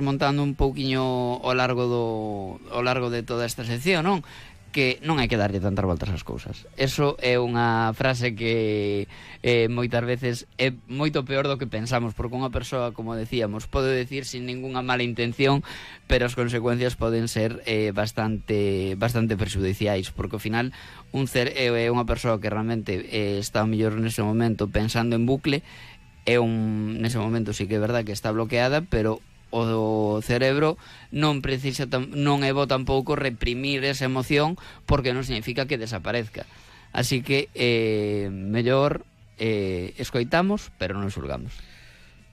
montando un pouquiño ao largo de toda esta sección, non? Que non hai que darlle tantas voltas ás cousas. Eso é unha frase que moitas veces é moito peor do que pensamos, porque unha persoa, como decíamos, pode decir sin ninguna mala intención, pero as consecuencias poden ser bastante prexudiciais, porque ao final é unha persoa que realmente está mellor nese momento pensando en bucle, nese momento sí que é verdad que está bloqueada, pero o cerebro non é bo tampouco reprimir esa emoción, porque non significa que desaparezca. Así que mellor escoitamos, pero non xulgamos.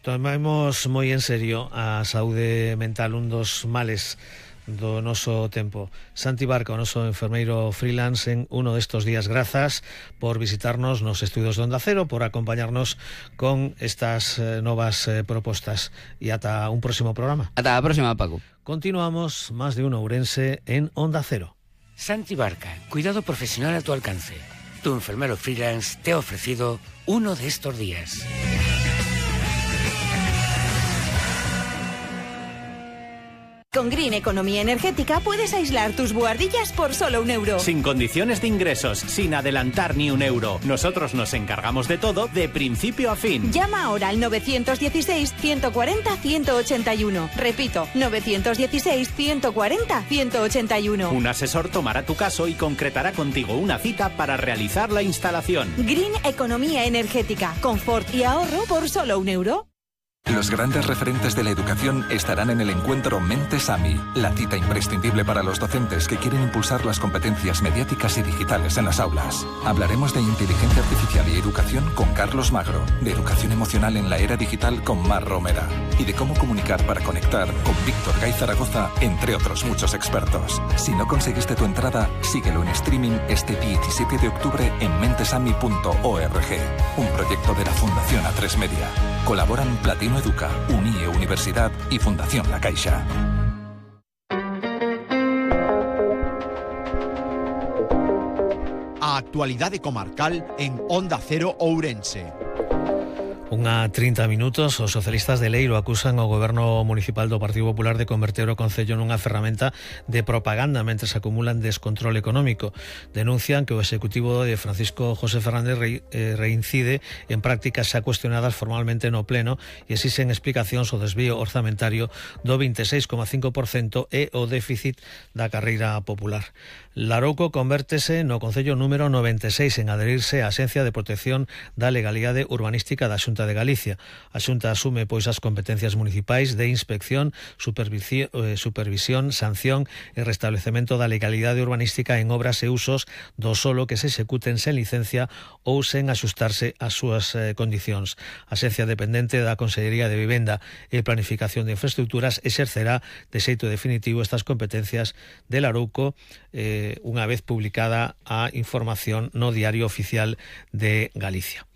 Tomamos moi en serio a saúde mental, un dos males do noso tempo. Santi Barca, o noso enfermeiro freelance en uno destos días, grazas por visitarnos nos estudios de Onda Cero, por acompañarnos con estas novas propostas, e ata un próximo programa. Ata a próxima, Paco. Continuamos Más de Uno Ourense en Onda Cero. Santi Barca, cuidado profesional a tu alcance. Tu enfermero freelance te ha ofrecido uno de estos días. Con Green Economía Energética puedes aislar tus buhardillas por solo €1. Sin condiciones de ingresos, sin adelantar ni €1. Nosotros nos encargamos de todo, de principio a fin. Llama ahora al 916-140-181. Repito, 916-140-181. Un asesor tomará tu caso y concretará contigo una cita para realizar la instalación. Green Economía Energética. Confort y ahorro por solo €1. Los grandes referentes de la educación estarán en el encuentro Mentes AMI, la cita imprescindible para los docentes que quieren impulsar las competencias mediáticas y digitales en las aulas. Hablaremos de inteligencia artificial y educación con Carlos Magro, de educación emocional en la era digital con Mar Romera y de cómo comunicar para conectar con Víctor Gay Zaragoza, entre otros muchos expertos. Si no conseguiste tu entrada, síguelo en streaming este 17 de octubre en mentesami.org, un proyecto de la Fundación A3 Media. Colaboran Platino Educa, UNIE Universidad y Fundación La Caixa. A actualidade comarcal en Onda Cero Ourense. Unha 30 minutos, os socialistas de Leiro acusan ao goberno municipal do Partido Popular de converter o concello nunha ferramenta de propaganda mentre se acumulan descontrol económico. Denuncian que o executivo de Francisco José Fernández reincide en prácticas xa cuestionadas formalmente no pleno e exixen explicacións ao desvío orzamentario do 26,5% e o déficit da carreira popular. Larouco convértese no concello número 96 en adherirse á Axencia de Protección da Legalidade Urbanística da Xunta de Galicia. A Xunta asume pois as competencias municipais de inspección, supervisión, sanción e restablecemento da legalidade urbanística en obras e usos do solo que se executen sen licencia ou sen axustarse ás súas condicións. A Axencia dependente da Consellería de Vivenda e Planificación de Infraestructuras exercerá de xeito definitivo estas competencias de Larouco unha vez publicada a información no Diario Oficial de Galicia.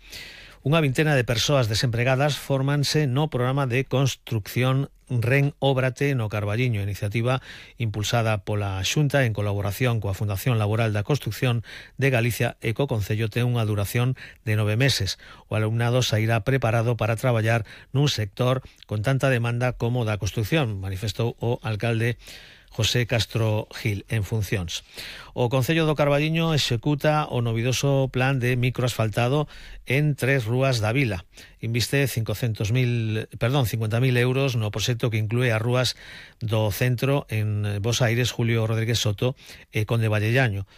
Unha vintena de persoas desempregadas fórmanse no programa de construcción Ren Óbrate no Carballiño, iniciativa impulsada pola Xunta en colaboración coa Fundación Laboral da Construcción de Galicia e co Concello ten unha duración de 9 meses. O alumnado sairá preparado para traballar nun sector con tanta demanda como da construcción, manifestou o alcalde José Castro Gil en funcións. O Concello do Carballiño executa o novidoso plan de microasfaltado en 3 rúas da vila. Inviste 50.000 euros no proxecto que inclúe as rúas do centro en Bos Aires, Julio Rodríguez Soto e Conde Vallellano.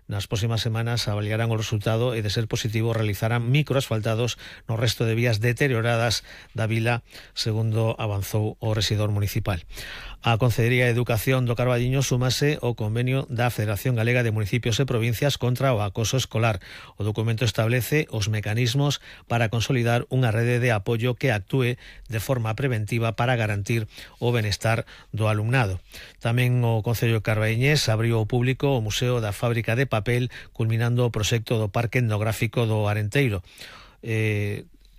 Nas próximas semanas avaliarán o resultado e, de ser positivo, realizarán microasfaltados no resto de vías deterioradas da vila, segundo avanzou o rexedor municipal. A Consellería de Educación do Carballiño súmase ao convenio da Federación Galega de Municipios e Provincias contra o acoso escolar. O documento establece os mecanismos para consolidar unha rede de apoio que actúe de forma preventiva para garantir o benestar do alumnado. Tamén o Concello carballiñés abriu ao público o Museo da Fábrica de Papel, culminando o proxecto do Parque Etnográfico do Arenteiro.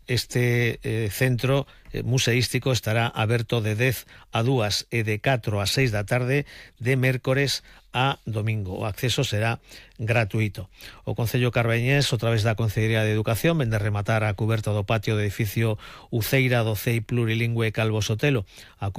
Este centro museístico estará aberto de 10 a 2 e de 4 a 6 da tarde de mércores a domingo. O acceso será gratuito. O Concello Carbañés, a través da Concellería de Educación, vende rematar a cuberta do patio do edificio Uceira do CEI Plurilingüe Calvo Sotelo. A